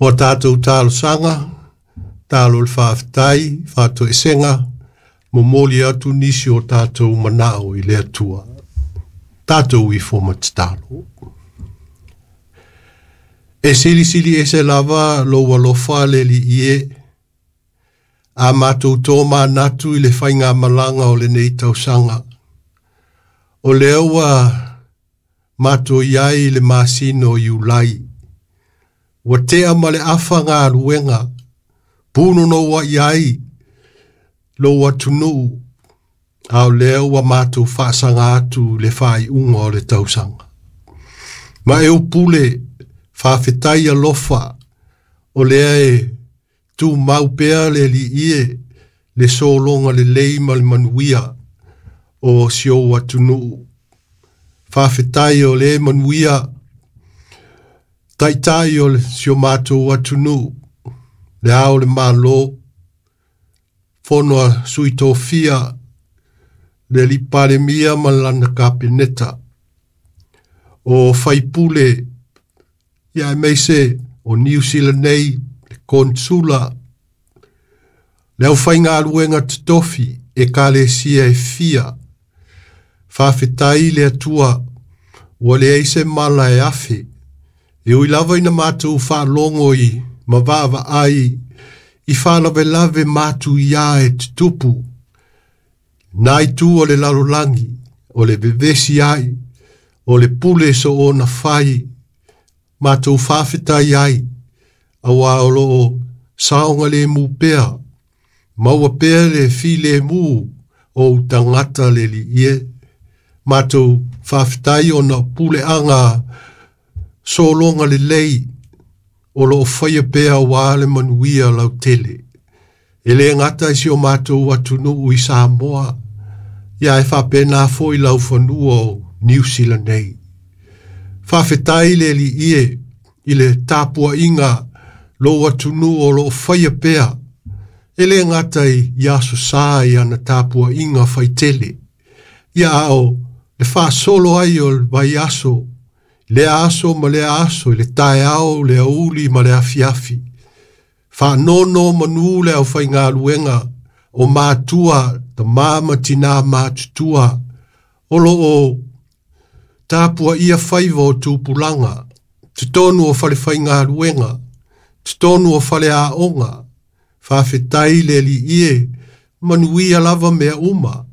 O a tatou talosaga, talo i le faafetai, faatoesega, momoli atu nisi o tatou manao i le Atua. Tatou ifo ma tatalo. E silisili ese lava lou alofa le Alii e, a matou tomanatu i le faigamalaga o lenei tausaga. O lea ua matou i ai i le masina o Iulai, ua tea ma le afa galuega, punonou ai lou atunuu, a o lea ua matou faasaga atu i le faaiuga o le tausaga. Ma e upule, faafetai alofa, o lea e tumau pea le Alii e, le sologa lelei ma le manuia o si ou atunuu. Faafetai o lea e manuia taitai o si o matou atunuu, le ao o le Malo, fono a sui tofia, le alii Palemia ma lana Kapeneta, o faipule, ia aemaise o Niu Sila nei, le konesula, le aufaigaluega totofi, ekalesia e fia. Faafetai i le Atua, ua leai se mala e afe, e ui lava ina matou faalogo i ma vaavaai i faalavelave matuia e tutupu, na itu o le lalolagi, o le vevesi ai, o le pule soona fai, matou faafetai ai, auā o lo o saogalemu pea, maua pea le filemu o ou tagata le Alii e. Matou faafetai ona o puleaga sologa lelei o lo o faia pea auā le manuia lautele. E le gata i si o matou atunuu i Samoa, ia ae faapena foi laufanua o Niu Sila nei. Faafetai le Alii e i le tapuaiga lou atunuu o lo o faia pea, e le gata i Aso Sa i ana tapuaiga faitele, ia a o le faasolo ai o le vaiaso, lea aso ma lea aso, i le taeao, le aoauli ma le afiafi. Faanonomanu le aufaigaluega o matua, tama ma tinā matutua, o lo o tapuaia faiva o tupulaga, totonu o falefaigaluega, totonu o faleaoga, faafetai le Alii e, manuia lava mea uma.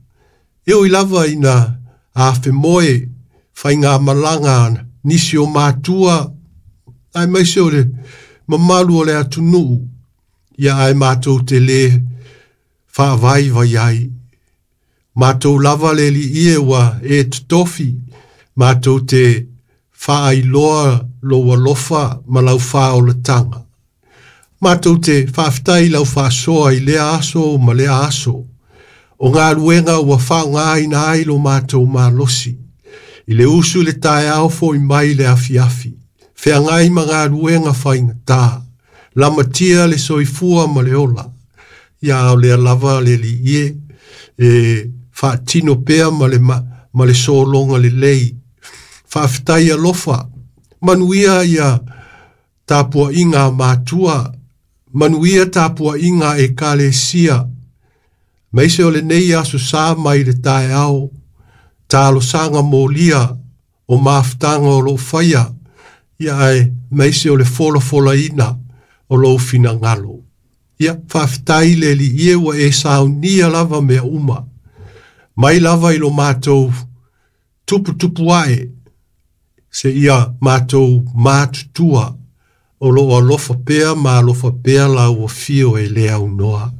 E ui lava ina afemoe faigamalaga nisi o matua, aemaise o le mamalu o le atunuu, ia ae matou te le faavaivai ai. Matou lava le Alii e ua e totofi, matou te faailoa lou alofa ma lau faaolataga. Matou te faafetai i lau faasoa i lea aso ma lea aso, o galuega ua faaaogaina ai lo matou malosi, i le usu i le taeao foi mai le afiafi, feagai ma galuega faigata, lamatia le soifua ma le ola, ia a o lea lava le Alii e, e faatino pea ma le, ma le sologa lelei. Faafetai alofa, manuia ia tapuaiga a matua, manuia tapuaiga a ekalesia, aemaise o lenei Aso Sa mai le taeao, talosaga molia o mafutaga o lo o faia, ia aemaise o le folafolaina o lou finagalo. Ia, faafetai le Alii e ua e saunia lava mea uma, mai lava i lo matou tuputupu ae, seia matou matutua, o lo o alofa pea ma alofa pea lau afio e le aunoa.